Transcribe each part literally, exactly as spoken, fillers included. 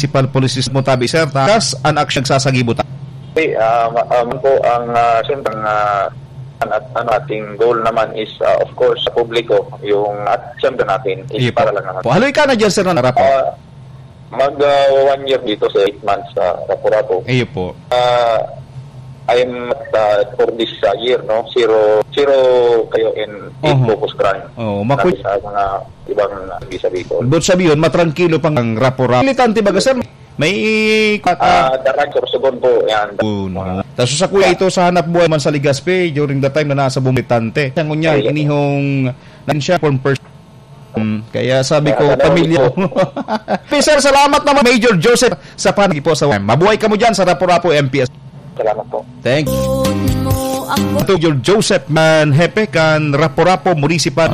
Municipal Police Station mo tabi, sir, ta-, kas an aksyon nagsasagibo ta. Okay, ah, ma-, ah, man po ang, ah, siyempre, ang, ah, an-, at, ano, ating goal naman is, ah, of course, sa publiko, yung, at siyempre natin is Iyo po. para lang naman. Po, haloy ka na dyan, sir, na rapo. Ah, mag, ah, one year dito sa eight months sa Rapu-Rapu. Iyo po. Ah, I am, ah, for this, ah, year, no? Zero, zero kayo in eight Oho. focus crime. Oo, makul- Sabi sa mga ibang, ah, sabi ko. But sabi yun, matrangkilo pang Rapu-Rapu. Militante baga, sir? May, ah, Ah, darag sa Sorsogon po, yan. Oh, no. Tapos sa kuya ito sa hanap buhay man sa Legazpi during the time na nasa Bumilitante. Siya ngunyan, Ayun. inihong na siya, form person. Hmm, kaya sabi ko, Kaya ano, pamilya. po. Sir, salamat naman, Major Joseph, sa panahon po sa mabuhay ka mo dyan sa Rapu-Rapu M P S. Salamat po. Thank you. Ito, Major Joseph man, hepe kan Rapu-Rapu Municipal.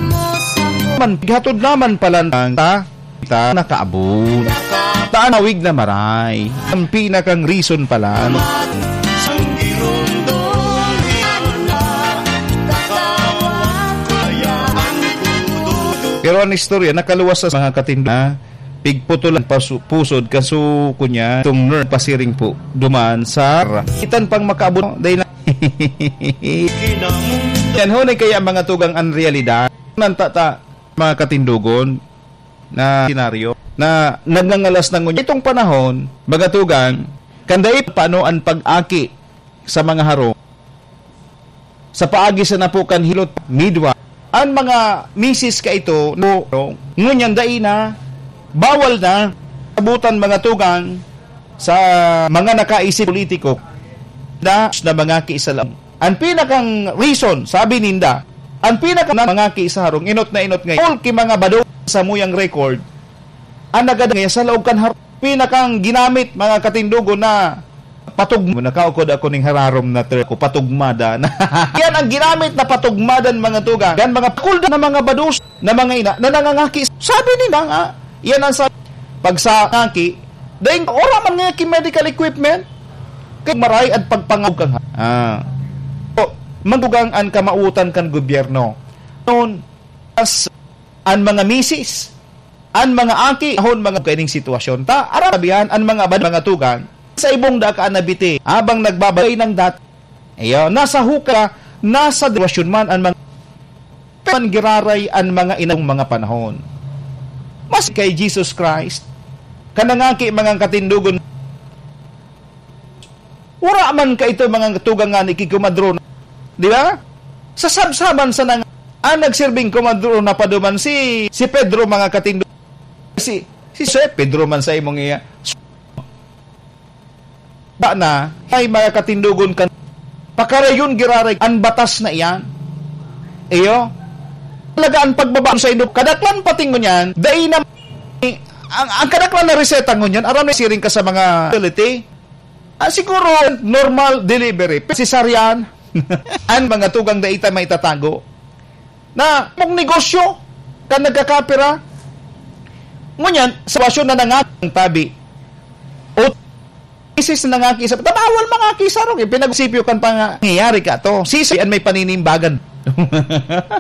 Man, pighatod naman pala ang ta, ta, nakaabot. Taanawig na maray. Ang pinakang reason pala. Pero ang istorya, nakaluwas sa mga katindo na pigputulan pasu-, pusod, kaso kunya, itong nerve pasiring po, duman sa itan pang makaabot, dahil na. Yan, huni kaya mga tugang ang realidad. Nanta ta, mga katindogon, na senaryo, na nagngangalas na ngunyan. Itong panahon, mga tugang, kanday paano ang pag-aki sa mga harong, sa paagi sa napo kan hilot midwa, an mga misis kaito, no, no, ngunyan dai na, bawal na, abutan mga tugang sa mga nakaisip politiko na, na mga kiisalaw. An pinakang reason, sabi ninda, an pinakang mga kiisarong, inot na inot ngayon, all ki mga bado sa muyang record, an nagad ngayon sa laog kan har-, pinakang ginamit, mga katindogon, na patugma. Nakaukod ako ning hararom na term ko, patugmada. Yan ang ginamit na patugmadan, mga tugang. Yan mga pakulda na mga bados na mga ina na nangangaki. Sabi nila nga, yan ang sa-, pag sa ngaki, dahil wala man nga ki medical equipment, kay maray at pagpangawag kang ha-, ah. So, magdugang an kamautan kan gobyerno. Noon, as an mga misis, an mga aki, ahon mga kaining sitwasyon. Ta, aram sabihan, an mga bad-, mga tugang, sa ibong daka na biti, habang nagbabagay ng dat-, iyo, nasa huka, nasa sitwasyon man an mga, man giraray an mga inang mga panahon. Mas kay Jesus Christ, kanangaki mga katindogon, Wala man kaito mga tugang ngani ki Komadrona. Di ba? Sa sabsaban sa nang-, ang nagsirbing Komadrona pa duman si, si Pedro, mga katindo. Si, si Jose, Pedro man sa imong iya. Ba na, ay mga katindogon kan, pakarayon giraray, ang batas na iyan. Iyo? Talaga ang pagbaba sa indo, kadaklan patingon yan, dai na, ang, ang kadaklan na reseta ngunyan, aram na siring ka sa mga facility, Ah, siguro, normal delivery, cesarean, ang mga tugang dai ta maitatago. Na, mong negosyo, kan nagkakapira. Ngunyan, sitwasyon na nangakang tabi. O, isis na nangaki sa, tabawal mga kisarong, eh, pinag-sipyo kan pangyayari ka to. Sisi, an may paninimbagan.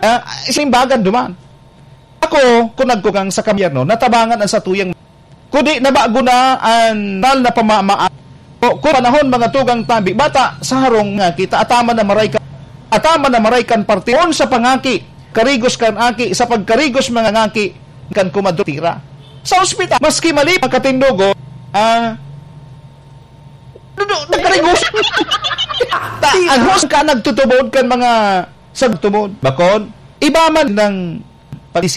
Ah, sinimbagan duman. Ako, kung nagkugang sa kabyerno, natabangan ang satuyang Kudi nabago na an tal na pamamaan. O, kun panahon, mga tugang tabi, bata, sa harong nga kita, ataman na maray ka, ataman na maray kan partion sa pangaki, karigos kan aki, sa pagkarigos mga ngaki, kan kumadro tira. Sa ospital, maski mali, mga katindogo, ah, dudu-, nagkarigos. Ta, an hos ka nagtutubod kan mga sagtubod. Bakon, iba man ng palisi.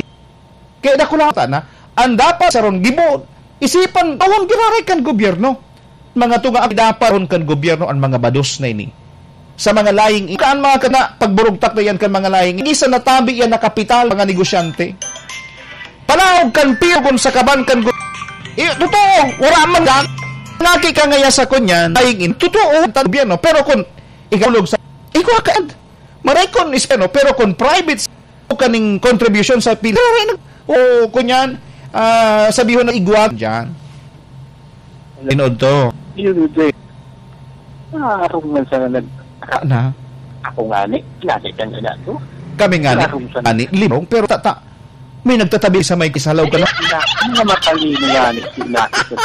Kaya dakula ta na, ang dapat saron gibo, isipan, tawon giraray kan gobyerno. Mga tunga, dapat ron kan gobyerno ang mga bados na ini. Sa mga laying, kaan mga kana, pagburugtak na yan kan mga laying, isa na tabi yan na kapital, mga negosyante. Palaog kan piyo kun sa kaban kan go-, eh, totoo, wala man dan. Naki ka ngaya sa kunyan, laying in, totoo, ang gobyerno, pero kun ikalog sa, ikaw ka, maray kun is, ano, pero kun private o kaning contribution sa pin-, o kunyan, ah, sabihon na igwa dyan. Tinood to. Yun, yun, yun. Ah, ako man sana nag-, Na? Ako nga ni, lagi kang ina to. Kami nga ni, Ako man sana. Ani, limong, pero tata, may nagtatabi sa may kisalaw ka na. Ay, ina, ano nga matalino nga ni, ina, sa